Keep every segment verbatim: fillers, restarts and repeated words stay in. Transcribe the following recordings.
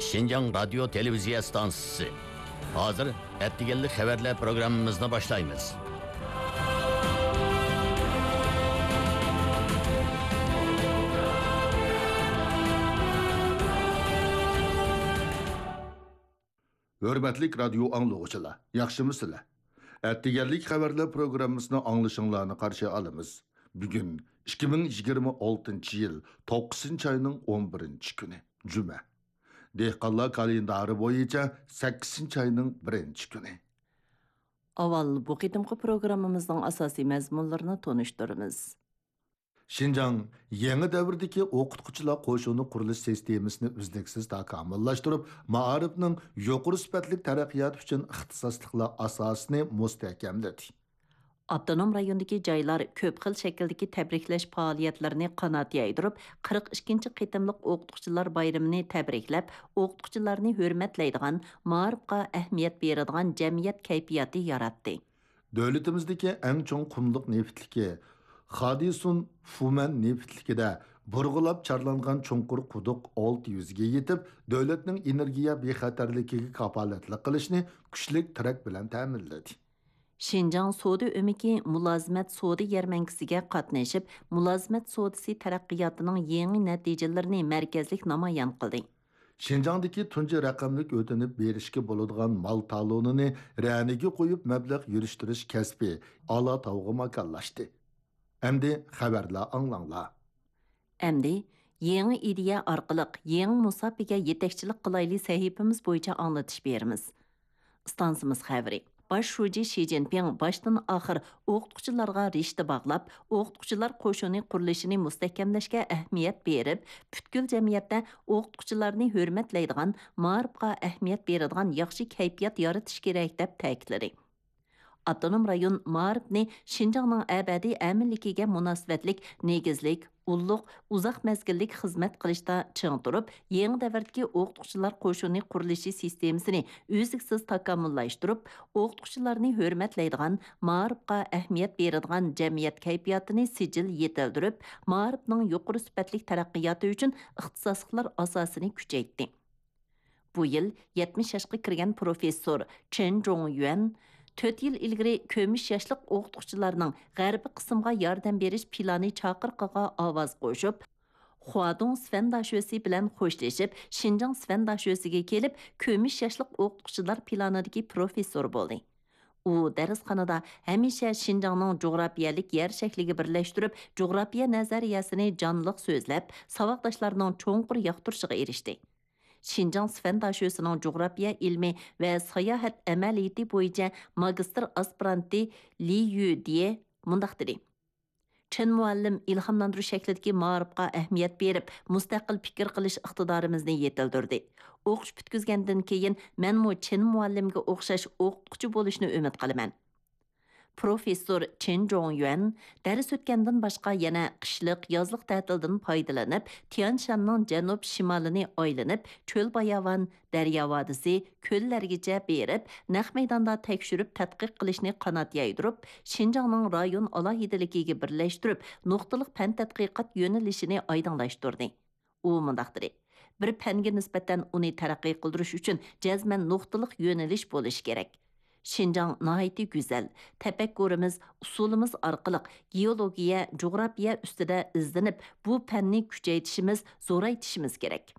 شىنجاڭ رادىيو تېلېۋىزىيە ئىستانسىسى. ھازىر ئەتىگەنلىك خەۋەرلەر پروگراممىمىزنى باشلايمىز. ھۆرمەتلىك رادىيو ئاڭلىغۇچىلار، ياخشىمۇسىلەر؟ ئەتىگەنلىك خەۋەرلەر پروگراممىسىنى ئاڭلىشىڭلارنى قارشى ئالىمىز. بۈگۈن ئىككى مىڭ يىگىرمە ئالتىنچى يىل توققۇزىنچى ئاينىڭ ئون بىرىنچى كۈنى، جۈمە. دېھقانلار كالېندارى بويىچە سەككىزىنچى ئاينىڭ بىرىنچى كۈنى. ئاۋۋال بۇ قېتىمقى پروگراممىمىزنىڭ ئاساسىي مەزمۇنلىرىنى تونۇشتۇرىمىز. شىنجاڭ يېڭى دەۋردىكى ئوقۇتقۇچىلار قوشۇنى قۇرۇلۇش سىستېمىسىنى ئۈزلۈكسىز تاكامۇللاشتۇرۇپ، مائارىپنىڭ يۇقىرى سۈپەتلىك تەرەققىياتى ئۈچۈن ئىختىساسلىقلار ئاساسىنى مۇستەھكەملىدى. ئاپتونوم رايوندىكى جايلار كۆپ خىل شەكىلدىكى تەبرىكلەش پائالىيەتلىرىنى قانات يايدۇرۇپ، قىرىق ئىككىنچى قېتىملىق ئوقۇتقۇچىلار بايرىمىنى تەبرىكلەپ، ئوقۇتقۇچىلارنى ھۆرمەتلەيدىغان، مائارىپقا ئەھمىيەت بېرىدىغان جەمئىيەت كەيپىياتى ياراتتى. دۆلىتىمىزدىكى ئەڭ چوڭ قۇملۇق نېفىتلىكى خادىسۇن فۇمەن نېفىتلىكىدە بۇرغىلاپ چارلانغان چوڭقۇر قۇدۇق ئالتە يۈزگە يېتىپ، دۆلەتنىڭ ئېنېرگىيە بىخەتەرلىكىگە كاپالەتلىك قىلىشنى كۈچلۈك تىرەك بىلەن تەمىنلىدى. شىنجاڭ سودا ئۆمىكى مۇلازىمەت سودا يەرمەنكىسىگە قاتنىشىپ، مۇلازىمەت سودىسى تەرەققىياتىنىڭ يېڭى نەتىجىلىرىنى مەركەزلىك نامايان قىلدى. شىنجاڭدىكى تۇنجى رەقەملىك ئۆتۈنۈپ بېرىشكە بولىدىغان مال تالونىنى رەنىگە قويۇپ مەبلەغ يۈرۈشتۈرۈش كەسپى ئالا تاۋغا ماكانلاشتى. ئەمدى خەۋەرلەر ئاڭلاڭلار. ئەمدى يېڭى ئىدىيە ئارقىلىق يېڭى مۇساپىگە يېتەكچىلىك قىلايلى سەھىپىمىز بويىچە ئاڭلىتىش بېرىمىز. ئىستانسىمىز خەۋىرى. باش شۇجى شى جىنپىڭ باشتىن ئاخىر ئوقۇتقۇچىلارغا رىشتە باغلاپ، ئوقۇتقۇچىلار قوشۇنى قۇرۇلۇشىنى مۇستەھكەملەشكە ئەھمىيەت بېرىپ، پۈتكۈل جەمئىيەتتە ئوقۇتقۇچىلارنى ھۆرمەتلەيدىغان، مائارىپقا ئەھمىيەت بېرىدىغان ياخشى كەيپىيات يارىتىش كېرەك، دەپ تەكىتلىدى. ئاپتونوم رايون مائارىپنى شىنجاڭنىڭ ئەبەدىي ئەمىنلىكىگە مۇناسىۋەتلىك نېگىزلىك، ئۇللۇق، ئۇزاق مەزگىللىك خىزمەت قىلىشتا چىڭ تۇرۇپ، يېڭى دەۋردىكى ئوقۇتقۇچىلار قوشۇنى قۇرۇلۇشى سىستېمىسىنى ئۈزلۈكسىز تاكامۇللاشتۇرۇپ، ئوقۇتقۇچىلارنى ھۆرمەتلەيدىغان، مائارىپقا ئەھمىيەت بېرىدىغان جەمئىيەت كەيپىياتىنى سىجىل يېتىلدۈرۈپ، مائارىپنىڭ يۇقىرى سۈپەتلىك تەرەققىياتى ئۈچۈن ئىختىساسلىقلار ئاساسىنى كۈچەيتتى. بۇ يىل يەتمىش ياشقا كىرگەن پروفېسسور چېن جوڭيۈەن تۆت يىل ئىلگىرى كۆمۈش ياشلىق ئوقۇتقۇچىلارنىڭ غەربىي قىسىمغا ياردەم بېرىش پىلانى چاقىرىقىغا ئاۋاز قوشۇپ، خۇادۇڭ سفەن داشۆسى بىلەن خوشلىشىپ، شىنجاڭ سفەن داشۆسىگە كېلىپ، كۆمۈش ياشلىق ئوقۇتقۇچىلار پىلانىدىكى پروفېسسور بولدى. ئۇ دەرسخانىدا ھەمىشە شىنجاڭنىڭ جۇغراپىيەلىك يەر شەكلىگە بىرلەشتۈرۈپ، جۇغراپىيە نەزەرىيەسىنى جانلىق سۆزلەپ، ساۋاقداشلارنىڭ چوڭقۇر ياقتۇرۇشىغا ئېرىشتى. شىنجاڭ سفەن داشۆسىنىڭ جۇغراپىيە ئىلمى ۋە ساياھەت ئەمەلىيىتى بويىچە ماگىستىر ئاسپىرانتى لى يۈدىيې مۇنداق دېدى: چېن مۇئەللىم ئىلھاملاندۇرۇش شەكلىدىكى مائارىپقا ئەھمىيەت بېرىپ، مۇستەقىل پىكىر قىلىش ئىقتىدارىمىزنى يېتىلدۈردى. ئوقۇش پۈتكۈزگەندىن كېيىن، مەنمۇ چېن مۇئەللىمگە ئوخشاش ئوقۇتقۇچى بولۇشنى ئۈمىد قىلىمەن. پروفېسسور چېن جوڭيۈەن دەرس ئۆتكەندىن باشقا يەنە قىشلىق، يازلىق تەتىلدىن پايدىلىنىپ، تيەنشاننىڭ جەنۇب شىمالىنى ئايلىنىپ، چۆل-باياۋان، دەريا ۋادىسى، كۆللەرگىچە بېرىپ، نەق مەيداندا تەكشۈرۈپ تەتقىق قىلىشنى قانات يايدۇرۇپ، شىنجاڭنىڭ رايون ئالاھىدىلىكىگە بىرلەشتۈرۈپ، نۇقتىلىق پەن تەتقىقات يۆنىلىشىنى ئايدىڭلاشتۇردى. ئۇ مۇنداق دېدى: بىر پەنگە نىسبەتەن ئۇنى تەرەققىي قىلدۇرۇش ئۈچۈن جەزمەن نۇقتىلىق يۆنىلىش بولۇشى كېرەك. شىنجاڭ ناھايىتى گۈزەل، تەپەككۇرىمىز، ئۇسۇلىمىز ئارقىلىق گېئولوگىيە، جۇغراپىيە ئۈستىدە ئىزدىنىپ، بۇ پەننى كۈچەيتىشىمىز، زورايتىشىمىز كېرەك.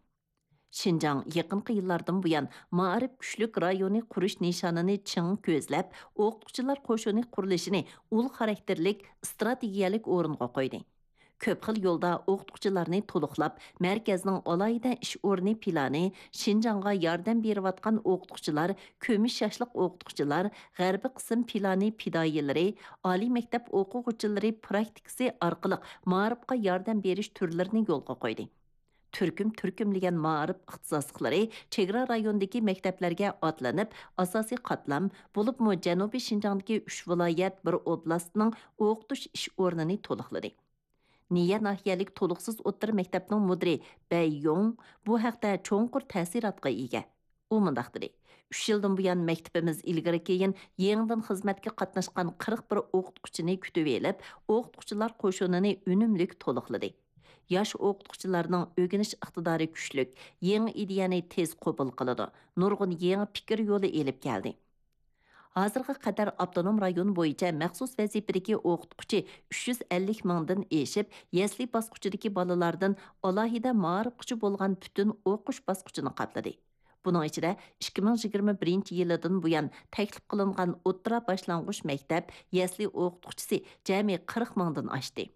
شىنجاڭ يېقىنقى يىللاردىن بۇيان مائارىپ كۈچلۈك رايونى قۇرۇش نىشانىنى چىڭ كۆزلەپ، ئوقۇتقۇچىلار قوشۇنى قۇرۇلۇشىنى ئۇل خاراكتېرلىك، ئىستراتېگىيەلىك ئورۇنغا قويدى. كۆپ خىل يولدا ئوقۇتقۇچىلارنى تولۇقلاپ، مەركەزنىڭ ئالاھىدە ئىش ئورنى پىلانى، شىنجاڭغا ياردەم بېرىۋاتقان ئوقۇتقۇچىلار، كۈمۈش ياشلىق ئوقۇتقۇچىلار، غەربىي قىسىم پىلانى پىدائىيلىرى، ئالىي مەكتەپ ئوقۇغۇچىلىرى پراكتىكىسى ئارقىلىق مائارىپقا ياردەم بېرىش تۈرلىرىنى يولغا قويدى. تۈركۈم-تۈركۈملىگەن مائارىپ ئىختىساسلىقلىرى چېگرا رايونىدىكى مەكتەپلەرگە ئاتلىنىپ، ئاساسىي قاتلام، بولۇپمۇ جەنۇبىي شىنجاڭدىكى ئۈچ ۋىلايەت، بىر ئوبلاستنىڭ ئوقۇتۇش ئىش ئورنىنى تولۇقلىدى. نىيە ناھىيەلىك تولۇقسىز ئوتتۇرا مەكتەپنىڭ مۇدىرى بەي يوڭ بۇ ھەقتە چوڭقۇر تەسىراتقا ئىگە. ئۇ مۇنداق دېدى: ئۈچ يىلدىن بۇيان مەكتىپىمىز ئىلگىرى-كېيىن يېڭىدىن خىزمەتكە قاتناشقان قىرىق بىر ئوقۇتقۇچىنى كۈتۈۋېلىپ، ئوقۇتقۇچىلار قوشۇنىنى ئۈنۈملۈك تولۇقلىدى. ياش ئوقۇتقۇچىلارنىڭ ئۆگىنىش ئىقتىدارى كۈچلۈك، يېڭى ئىدىيەنى تېز قوبۇل قىلىدۇ، نۇرغۇن يېڭى پىكىر يولى ئېلىپ كەلدى. ھازىرغا قەدەر ئاپتونوم رايون بويىچە مەخسۇس ۋەزىپىدىكى ئوقۇتقۇچى ئۈچ يۈز ئەللىك مىڭدىن ئېشىپ، يەسلى باسقۇچىدىكى بالىلاردىن ئالاھىدە مائارىپقىچە بولغان پۈتۈن ئوقۇش باسقۇچىنى قاپلىدى. بۇنىڭ ئىچىدە ئىككى مىڭ يىگىرمە بىرىنچى يىلىدىن بۇيان تەكلىپ قىلىنغان ئوتتۇرا باشلانغۇچ مەكتەپ يەسلى ئوقۇتقۇچىسى جەمئىي قىرىق مىڭدىن ئاشتى.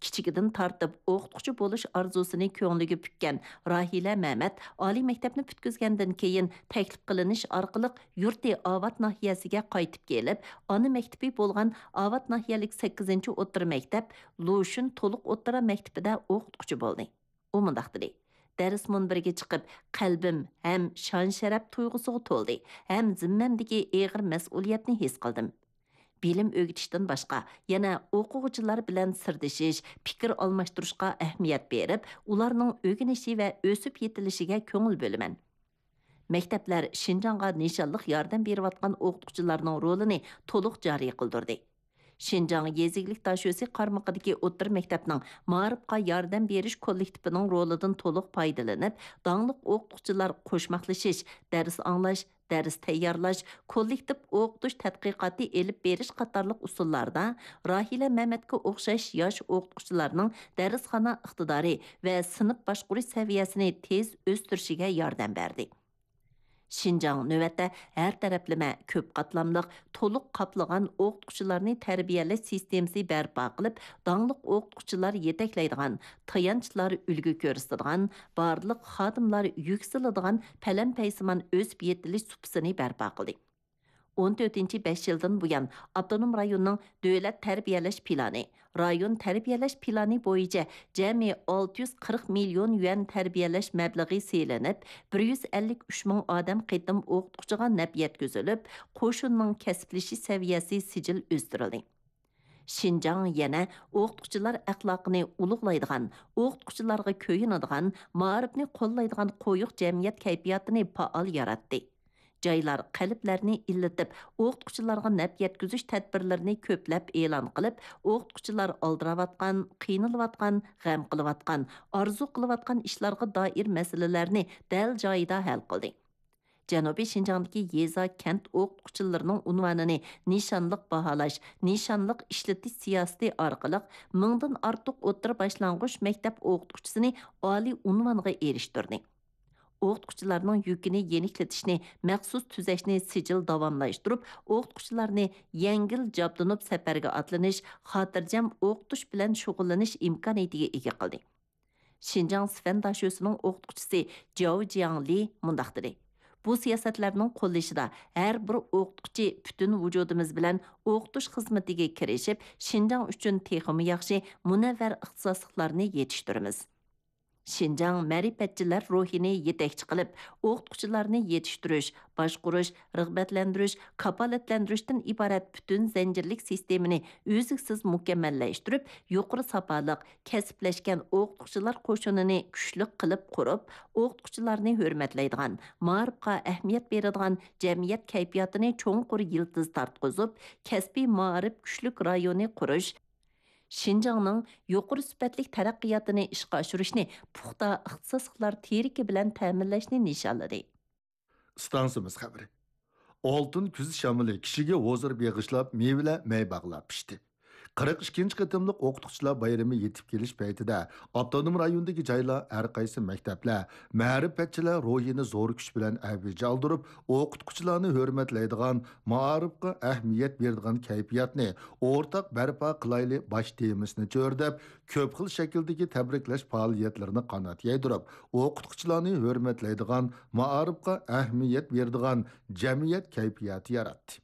كىچىكىدىن تارتىپ ئوقۇتقۇچى بولۇش ئارزۇسىنى كۆڭلىگە پۈككەن راھىلە مەمەت ئالىي مەكتەپنى پۈتكۈزگەندىن كېيىن، تەكلىپ قىلىنىش ئارقىلىق يۇرتى ئاۋات ناھىيەسىگە قايتىپ كېلىپ، ئانا مەكتىپى بولغان ئاۋات ناھىيەلىك سەككىزىنچى ئوتتۇرا مەكتەپ لۇشۈن تولۇق ئوتتۇرا مەكتىپىدە ئوقۇتقۇچى بولدى. ئۇ مۇنداق دېدى: دەرس مۇنبىرىگە چىقىپ، قەلبىم ھەم شان-شەرەپ تۇيغۇسىغا تولدى، ھەم زىممەمدىكى ئېغىر مەسئۇلىيەتنى ھېس قىلدىم. بىلىم ئۆگىتىشتىن باشقا، يەنە ئوقۇغۇچىلار بىلەن سىردىشىش، پىكىر ئالماشتۇرۇشقا ئەھمىيەت بېرىپ، ئۇلارنىڭ ئۆگىنىشى ۋە ئۆسۈپ يېتىلىشىگە كۆڭۈل بۆلىمەن. مەكتەپلەر شىنجاڭغا نىشانلىق ياردەم بېرىۋاتقان ئوقۇتقۇچىلارنىڭ رولىنى تولۇق جارى قىلدۇردى. شىنجاڭ يېزا ئىگىلىك داشۆسى قارمىقىدىكى ئوتتۇرا مەكتەپنىڭ مائارىپقا ياردەم بېرىش كوللېكتىپىنىڭ رولىدىن تولۇق پايدىلىنىپ، داڭلىق ئوقۇتقۇچىلار قوشماقلىشىش، دەرس ئاڭلاش، دەرس تەييارلاش، كوللېكتىپ ئوقۇتۇش تەتقىقاتى ئېلىپ بېرىش قاتارلىق ئۇسۇللاردا راھىلە مەمەتكە ئوخشاش ياش ئوقۇتقۇچىلارنىڭ دەرسخانا ئىقتىدارى ۋە سىنىپ باشقۇرۇش سەۋىيەسىنى تېز ئۆستۈرۈشىگە ياردەم بەردى. شىنجاڭ نۆۋەتتە ھەر تەرەپلىمە، كۆپ قاتلاملىق، تولۇق قاپلىغان ئوقۇتقۇچىلارنى تەربىيەلەش سىستېمىسى بەرپا قىلىپ، داڭلىق ئوقۇتقۇچىلار يېتەكلەيدىغان، تايانچلار ئۈلگە كۆرسىتىدىغان، بارلىق خادىملار يۈكسىلىدىغان پەلەمپەيسىمان ئۆسۈپ يېتىلىش سۇپىسىنى بەرپا قىلدى. ئون تۆتىنچى بەش يىلدىن بۇيان، ئاپتونوم رايوننىڭ دۆلەت تەربىيەلەش پىلانى، رايون تەربىيەلەش پىلانى بويىچە جەمئىي ئالتە يۈز قىرىق مىليون يۈەن تەربىيەلەش مەبلىغى سېلىنىپ، بىر يۈز ئەللىك ئۈچ مىڭ ئادەم قېتىم ئوقۇتقۇچىغا نەپ يەتكۈزۈلۈپ، قوشۇننىڭ كەسىپلىشىش سەۋىيەسى سىجىل ئۆستۈرۈلدى. شىنجاڭ يەنە ئوقۇتقۇچىلار ئەخلاقىنى ئۇلۇغلايدىغان، ئوقۇتقۇچىلارغا كۆيۈنىدىغان، مائارىپنى قوللايدىغان قويۇق جەمئىيەت كەيپىياتىنى پائال ياراتتى. جايلار قەلبلەرنى ئىللىتىپ، ئوقۇتقۇچىلارغا نەپ يەتكۈزۈش تەدبىرلىرىنى كۆپلەپ ئېلان قىلىپ، ئوقۇتقۇچىلار ئالدىراۋاتقان، قىينىلىۋاتقان، غەم قىلىۋاتقان، ئارزۇ قىلىۋاتقان ئىشلارغا دائىر مەسىلىلەرنى دەل جايىدا ھەل قىلدى. جەنۇبىي شىنجاڭدىكى يېزا، كەنت ئوقۇتقۇچىلىرىنىڭ ئۇنۋانىنى نىشانلىق باھالاش، نىشانلىق ئىشلىتىش سىياسىتى ئارقىلىق مىڭدىن ئارتۇق ئوتتۇرا باشلانغۇچ مەكتەپ ئوقۇتقۇچىسىنى ئالىي ئۇنۋانغا ئېرىشتۈردى. ئوقۇتقۇچىلارنىڭ يۈكىنى يېنىكلىتىشنى، مەخسۇس تۈزەشنى سىجىل داۋاملاشتۇرۇپ، ئوقۇتقۇچىلارنى يەڭگىل جابدۇنۇپ سەپەرگە ئاتلىنىش، خاتىرجەم ئوقۇتۇش بىلەن شۇغۇللىنىش ئىمكانىيىتىگە ئىگە قىلدى. شىنجاڭ سىفەن داشۆسىنىڭ ئوقۇتقۇچىسى جياۋ جياڭلى مۇنداق دېدى: بۇ سىياسەتلەرنىڭ قوللىشىدا ھەر بىر ئوقۇتقۇچى پۈتۈن ۋۇجۇدىمىز بىلەن ئوقۇتۇش خىزمىتىگە كىرىشىپ، شىنجاڭ ئۈچۈن تېخىمۇ ياخشى، مۇنەۋۋەر ئىختىساسلىقلارنى يېتىشتۈرىمىز. شىنجاڭ مەرىپەتچىلەر روھىنى يېتەكچى قىلىپ، ئوقۇتقۇچىلارنى يېتىشتۈرۈش، باشقۇرۇش، رىغبەتلەندۈرۈش، كاپالەتلەندۈرۈشتىن ئىبارەت پۈتۈن زەنجىرلىك سىستېمىنى ئۈزلۈكسىز مۇكەممەللەشتۈرۈپ، يۇقىرى ساپالىق، كەسىپلەشكەن ئوقۇتقۇچىلار قوشۇنىنى كۈچلۈك قىلىپ قۇرۇپ، ئوقۇتقۇچىلارنى ھۆرمەتلەيدىغان، مائارىپقا ئەھمىيەت بېرىدىغان جەمئىيەت كەيپىياتىنى چوڭقۇر يىلتىز تارتقۇزۇپ، كەسپىي مائارىپ كۈچلۈك رايونى قۇرۇش، شىنجاڭنىڭ يۇقىرى سۈپەتلىك تەرەققىياتىنى ئىشقا ئاشۇرۇشنى پۇختا ئىختىساسلىقلار تېرىكى بىلەن تەمىنلەشنى نىشانلىدى. ئىستانسىمىز خەۋىرى. ئالتۇن كۈز شامىلى كىشىگە ھۇزۇر بېغىشلاپ، مېۋىلەر مەي باغلار پىشتى. قىرىق ئىككىنچى قېتىملىق ئوقۇتقۇچىلار بايرىمى يېتىپ كېلىش پەيتىدە، ئاپتونوم رايوندىكى جايلار، ھەر قايسى مەكتەپلەر مەرىپەتچىلەر روھىنى زور كۈچ بىلەن ئەۋج ئالدۇرۇپ، ئوقۇتقۇچىلارنى ھۆرمەتلەيدىغان، مائارىپقا ئەھمىيەت بېرىدىغان كەيپىياتنى ئورتاق بەرپا قىلايلى باش تېمىسىنى چۆرىدەپ، كۆپ خىل شەكىلدىكى تەبرىكلەش پائالىيەتلىرىنى قانات يايدۇرۇپ، ئوقۇتقۇچىلارنى ھۆرمەتلەيدىغان، مائارىپقا ئەھمىيەت بېرىدىغان جەمئىيەت كەيپىياتى ياراتتى.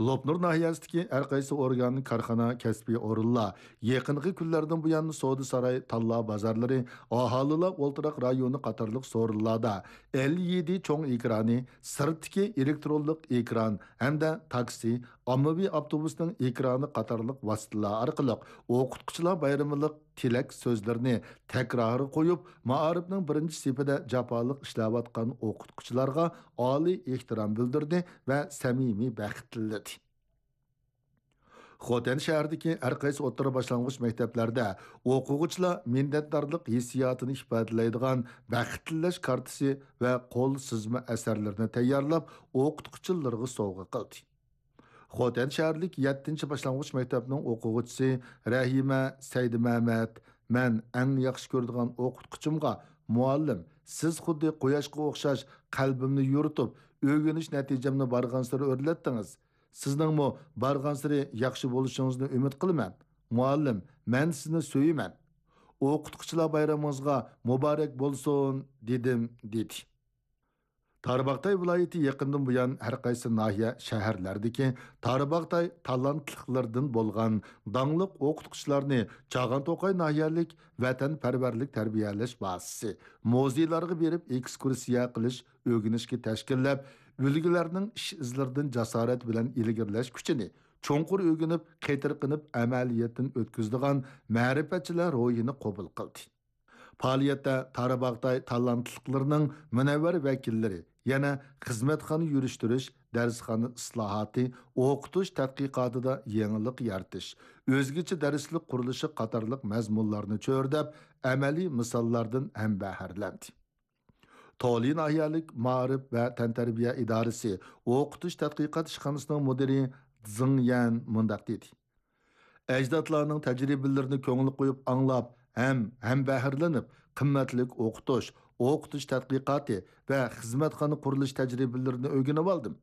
لوپنۇر ناھىيەسىدىكى ھەر قايسى ئورگان، كارخانا، كەسپىي ئورۇنلار يېقىنقى كۈنلەردىن بۇيان سودا ساراي، تاللا بازارلىرى، ئاھالىلەر ئولتۇراق رايونى قاتارلىق سورۇنلاردا ئېل ئى دى چوڭ ئېكرانى، سىرتتىكى ئېلېكترونلۇق ئېكران ھەمدە تاكسى، ئاممىۋى ئاپتوبۇسنىڭ ئېكرانى قاتارلىق ۋاسىتىلەر ئارقىلىق ئوقۇتقۇچىلار بايرىمىلىق تىلەك سۆزلىرىنى تەكرارغا قويۇپ، مائارىپنىڭ بىرىنچى سېپىدە جاپالىق ئىشلەۋاتقان ئوقۇتقۇچىلارغا ئالىي ئېھتىرام بىلدۈردى ۋە سەمىمىي بەخت تىلىدى. خوتەن شەھىرىدىكى ھەر قايسى ئوتتۇرا باشلانغۇچ مەكتەپلەردە ئوقۇغۇچىلار مىننەتدارلىق ھېسسىياتىنى ئىپادىلەيدىغان بەخت تىلەش كارتىسى ۋە قول سىزما ئەسەرلىرىنى تەييارلاپ، ئوقۇتقۇچىلىرىغا سوۋغا قىلدى. خوتەن شەھەرلىك يەتتىنچى باشلانغۇچ مەكتەپنىڭ ئوقۇغۇچىسى رەھىمە سەيدىمەمەت، مەن ئەڭ ياخشى كۆرىدىغان ئوقۇتقۇچىمغا، مۇئەللىم، سىز خۇددى قۇياشقا ئوخشاش قەلبىمنى يورۇتۇپ، ئۆگىنىش نەتىجەمنى بارغانسېرى ئۆرلەتتىڭىز. سىزنىڭمۇ بارغانسېرى ياخشى بولۇشىڭىزنى ئۈمىد قىلىمەن. مۇئەللىم، مەن سىزنى سۆيىمەن. ئوقۇتقۇچىلار بايرىمىڭىزغا مۇبارەك بولسۇن، دېدىم، دېدى. تارباغاتاي ۋىلايىتى يېقىندىن بۇيان ھەر قايسى ناھىيە، شەھەرلەردىكى تارباغاتاي تالانتلىقلىرىدىن بولغان داڭلىق ئوقۇتقۇچىلارنى چاغان توقاي ناھىيەلىك ۋەتەنپەرۋەرلىك تەربىيەلەش بازىسى، مۇزېيلارغا بېرىپ ئېكسكۇرسىيە قىلىش، ئۆگىنىشكە تەشكىللەپ، ئۈلگىلەرنىڭ ئىش ئىزلىرىدىن جاسارەت بىلەن ئىلگىرىلەش كۈچىنى چوڭقۇر ئۆگىنىپ، قېتىرقىنىپ ئەمەلىيەتتىن ئۆتكۈزىدىغان مەرىپەتچىلەر روھىنى قوبۇل قىلدى. پائالىيەتتە تارباغاتاي تالانتلىقلىرىنىڭ مۇنەۋۋەر ۋەكىللىرى، يەنە خىزمەتخانا يۈرۈشتۈرۈش، دەرسخانا ئىسلاھاتى، ئوقۇتۇش تەتقىقاتىدا يېڭىلىق يارىتىش، ئۆزگىچە دەرسلىك قۇرۇلۇشى قاتارلىق مەزمۇنلارنى چۆرىدەپ، ئەمەلىي مىساللاردىن ھەمبەھىرلەندى. تولى ناھىيەلىك مائارىپ ۋە تەنتەربىيە ئىدارىسى ئوقۇتۇش تەتقىقات ئىشخانىسىنىڭ مۇدىرى زېڭ يەن مۇنداق دېدى: ئەجدادلارنىڭ تەجرىبىلىرىنى كۆڭۈل قويۇپ ئاڭلاپ ھەم ھەمبەھىرلىنىپ، قىممەتلىك ئوقۇتۇش، ئوقۇتۇش تەتقىقاتى ۋە خىزمەتخانا قۇرۇلۇش تەجرىبىلىرىنى ئۆگىنىۋالدىم.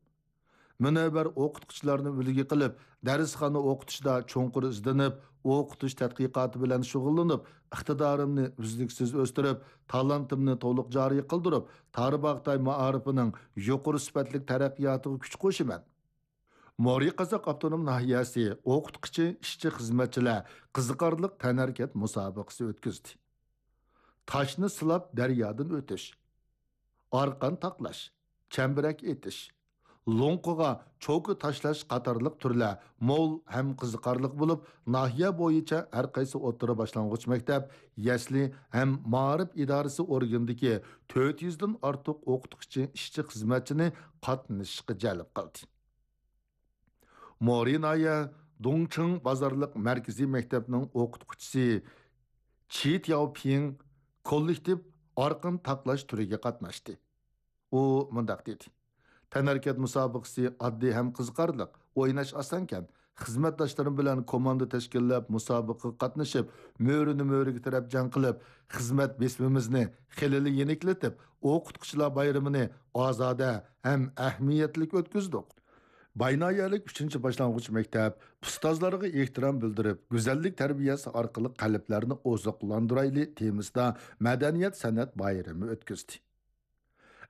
مۇنەۋۋەر ئوقۇتقۇچىلارنى ئۈلگە قىلىپ، دەرسخانا ئوقۇتۇشتا چوڭقۇر ئىزدىنىپ، ئوقۇتۇش تەتقىقاتى بىلەن شۇغۇللىنىپ، ئىقتىدارىمنى ئۈزلۈكسىز ئۆستۈرۈپ، تالانتىمنى تولۇق جارى قىلدۇرۇپ، تارباغاتاي مائارىپىنىڭ يۇقىرى سۈپەتلىك تەرەققىياتىغا كۈچ قوشىمەن. مورى قازاق ئاپتونوم ناھىيەسى ئوقۇتقۇچى ئىشچى خىزمەتچىلەر قىزىقارلىق تەنھەرىكەت مۇسابىقىسى ئۆتكۈزدى. تاشنى سىلاپ دەريادىن ئۆتۈش، ئارقان تاقلاش، چەمبىرەك ئېتىش، لوڭقىغا چوكا تاشلاش قاتارلىق تۈرلەر مول ھەم قىزىقارلىق بولۇپ، ناھىيە بويىچە ھەر قايسى ئوتتۇرا باشلانغۇچ مەكتەپ، يەسلى ھەم مائارىپ ئىدارىسى ئورگىنىدىكى تۆت يۈزدىن ئارتۇق ئوقۇتقۇچى ئىشچى خىزمەتچىنى قاتنىشىشقا جەلپ قىلدى. مورى ناھىيە دۇڭچىڭ بازارلىق مەركىزىي مەكتەپنىڭ ئوقۇتقۇچىسى چى تياۋپىڭ كوللېكتىپ ئارقان تاقلاش تۈرىگە قاتناشتى. ئۇ مۇنداق دېدى: تەنھەرىكەت مۇسابىقىسى ئاددىي ھەم قىزىقارلىق، ئويناش ئاسانكەن. خىزمەتداشلىرىم بىلەن كوماندا تەشكىللەپ، مۇسابىقىگە قاتنىشىپ، مۆرىنى مۆرىگە تىرەپ جەڭ قىلىپ، خىزمەت بېسىمىمىزنى خېلىلا يېنىكلىتىپ، ئوقۇتقۇچىلار بايرىمىنى ئازادە ھەم ئەھمىيەتلىك ئۆتكۈزدۇق. باينايەلىك ئۈچىنچى باشلانغۇچ مەكتەپ ئۇستازلارغا ئېھتىرام بىلدۈرۈپ، گۈزەللىك تەربىيەسى ئارقىلىق قەلبلەرنى ئوزۇقلاندۇرايلى تېمىسىدا مەدەنىيەت سەنئەت بايرىمى ئۆتكۈزدى.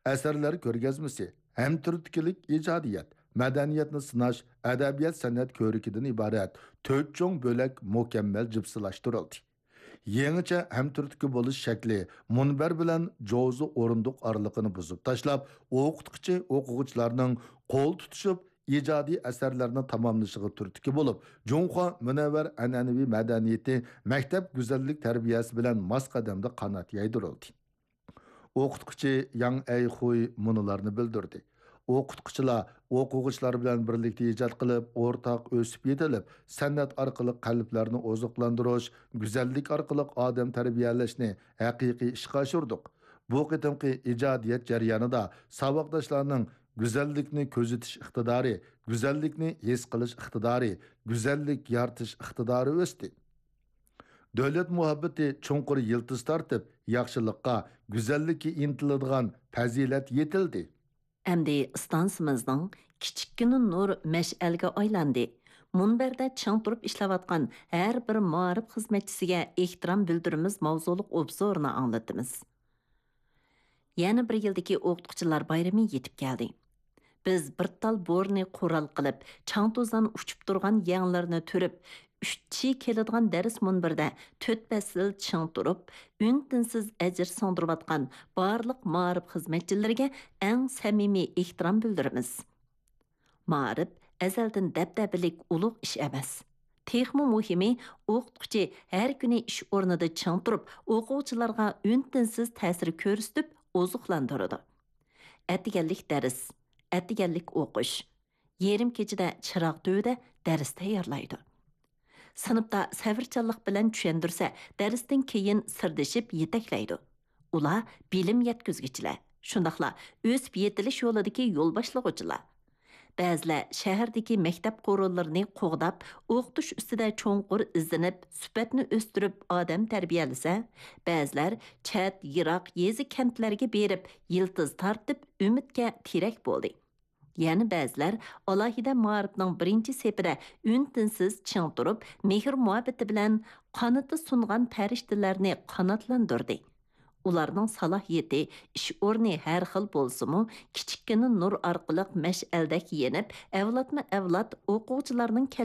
ئەسەرلەر كۆرگەزمىسى، ھەمتۈرتكىلىك ئىجادىيەت، مەدەنىيەتنى سىناش، ئەدەبىيات-سەنئەت كۆرىكىدىن ئىبارەت تۆت چوڭ بۆلەك مۇكەممەل جىپسىلاشتۇرۇلدى. يېڭىچە ھەمتۈرتكە بولۇش شەكلى مۇنبەر بىلەن جوزا ئورۇندۇق ئارىلىقىنى بۇزۇپ تاشلاپ، ئوقۇتقۇچى ئوقۇغۇچىلارنىڭ قول تۇتۇشۇپ ئىجادىي ئەسەرلەرنى تاماملىشىغا تۈرتكە بولۇپ، جۇڭخۇا مۇنەۋۋەر ئەنئەنىۋى مەدەنىيىتى مەكتەپ گۈزەللىك تەربىيەسى بىلەن ماس قەدەمدە قانات يايدۇرۇلدى. ئوقۇتقۇچى ياڭ ئەيخۇي مۇنۇلارنى بىلدۈردى: ئوقۇتقۇچىلار ئوقۇغۇچىلار بىلەن بىرلىكتە ئىجاد قىلىپ، ئورتاق ئۆسۈپ يېتىلىپ، سەنئەت ئارقىلىق قەلبلەرنى ئوزۇقلاندۇرۇش، گۈزەللىك ئارقىلىق ئادەم تەربىيەلەشنى ھەقىقىي ئىشقا ئاشۇردۇق. بۇ قېتىمقى ئىجادىيەت جەريانىدا ساۋاقداشلارنىڭ گۈزەللىكنى كۆزىتىش ئىقتىدارى، گۈزەللىكنى ھېس قىلىش ئىقتىدارى، گۈزەللىك يارىتىش ئىقتىدارى ئۆستى. دۆلەت مۇھەببىتى چوڭقۇر يىلتىز تارتىپ، ياخشىلىققا، گۈزەللىككە ئىنتىلىدىغان پەزىلەت يېتىلدى. ئەمدى ئىستانسىمىزنىڭ كىچىككىنە نۇر مەشئەلگە ئايلاندى. مۇنبەردە چىڭ تۇرۇپ ئىشلەۋاتقان ھەر بىر مائارىپ خىزمەتچىسىگە ئېھتىرام بىلدۈرىمىز ماۋزۇلۇق ئوبزورنى ئاڭلىتىمىز. يەنە بىر يىلدىكى ئوقۇتقۇچىلار بايرىمى يېتىپ كەلدى. بىز بىر تال بورىنى قورال قىلىپ، چاڭ-توزان ئۇچۇپ تۇرغان يەڭلىرىنى تۈرۈپ، ئۈچ چى كېلىدىغان دەرس مۇنبىرىدە تۆت پەسىل چىڭ تۇرۇپ، ئۈن-تىنسىز ئەجىر سىڭدۈرۈۋاتقان بارلىق مائارىپ خىزمەتچىلىرىگە ئەڭ سەمىمىي ئېھتىرام بىلدۈرىمىز. مائارىپ ئەزەلدىن دەبدەبىلىك ئۇلۇغ ئىش ئەمەس. تېخىمۇ مۇھىمى، ئوقۇتقۇچى ھەر كۈنى ئىش ئورنىدا چىڭ تۇرۇپ، ئوقۇغۇچىلارغا ئۈن-تىنسىز تەسىر كۆرسىتىپ ئوزۇقلاندۇرىدۇ. ئەتىگەنلىك دەرس، ئەتىگەنلىك ئوقۇش، يېرىم كېچىدە چىراغ تۈۋىدە دەرس تەييارلايدۇ. سىنىپتا سەۋرچانلىق بىلەن چۈشەندۈرسە، دەرستىن كېيىن سىردىشىپ يېتەكلەيدۇ. ئۇلار بىلىم يەتكۈزگۈچىلەر، شۇنداقلا ئۆسۈپ يېتىلىش يولىدىكى يول باشلىغۇچىلار. بەزىلەر شەھەردىكى مەكتەپ قورۇلىرىنى قوغداپ، ئوقۇتۇش ئۈستىدە چوڭقۇر ئىزدىنىپ، سۈپەتنى ئۆستۈرۈپ ئادەم تەربىيەلىسە، بەزىلەر چەت، يىراق يېزا-كەنتلەرگە بېرىپ، يىلتىز تارتىپ، ئۈمىدكە تىرەك بولدى. يەنە بەزىلەر ئالاھىدە مائارىپنىڭ بىرىنچى سېپىدە ئۈن-تىنسىز چىڭ تۇرۇپ، مېھىر-مۇھەببىتى بىلەن قانىتى سۇنغان پەرىشتىلەرنى قاناتلاندۇردى. ئۇلارنىڭ سالاھىيىتى، ئىش ئورنى ھەر خىل بولسىمۇ، كىچىككىنە نۇر ئارقىلىق مەشئەلدەك يېنىپ، ئەۋلادمۇ ئەۋلاد ئوقۇغۇچىلارنىڭ